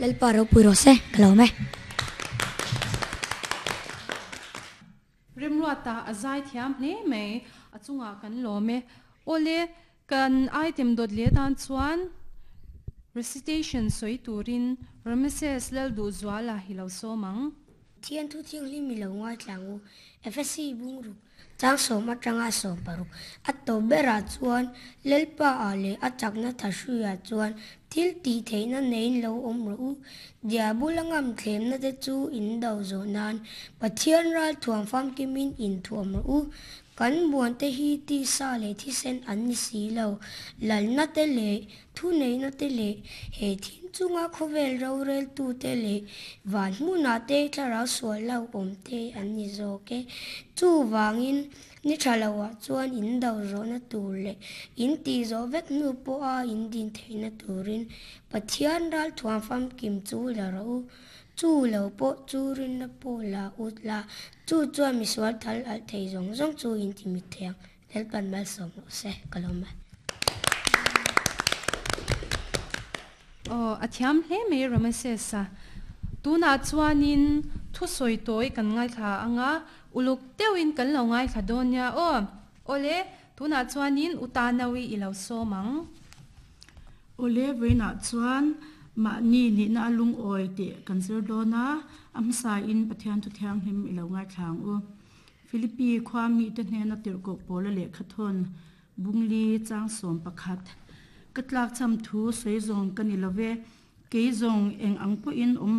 Lalpa ropui rawh se, ka lo awm e. Remruata a zai thiam hle mai, a chungah kan lawm e. Awle, kan item dawt leh atan chuan recitation sawi turin Rameses Lalduhzuala hi lo sawm ang. Thian thu thianghlim i lo ngaithlang u, Efesi bungruk changsawm atanga 60 a tawp berah chuan Lalpa-ah leh a chakna thahruiah chuan thil tih theihna neiin lo awm rawh u. Diabula ngam thlemna te chu in do zawh nan Pathian ral thuam famkimin in thuam rawh u. Kan buante hi tisa leh thisen an ni si lo, lalna te leh Thuneihna te leh he thim chunga khawvel roreltute leh van hmunah te thlarau sual lo awm te an ni zawk e. Chuvangin, ni tha loah chuan in do zawhna tur leh in tih zawh vek hnu pawha in din theihna turin Pathian ralthuam famkim chu la rawh u. Chu lo pawh chu rinna pawh la ut la, chu chuan misual thal alh thei zawng zawng chu in ti mit thei ang. Lalpan malsawm rawh se, ka lawm e. Aw, a thiam hle mai Ramesses-a. Tunah chuanin thusawi tawi kan ngaithla ang a, uluk deuhin kan lo ngaithla dawn nia aw. Awle, tunah chuanin u Tanawi i lo sawm ang. Awle, vawiinah chuan mahni nihna a lungawi tih kan zir dawn a, a hmasain Pathian thu thianghlim i lo ngaithla ang u. Philippi khua mite hnena tirhkoh pawla lehkhathawn Bungli Changsawm pakhat Ka tlakchham thu sawi zawng ka ni lo ve, kei zawng eng ang pawhin awm.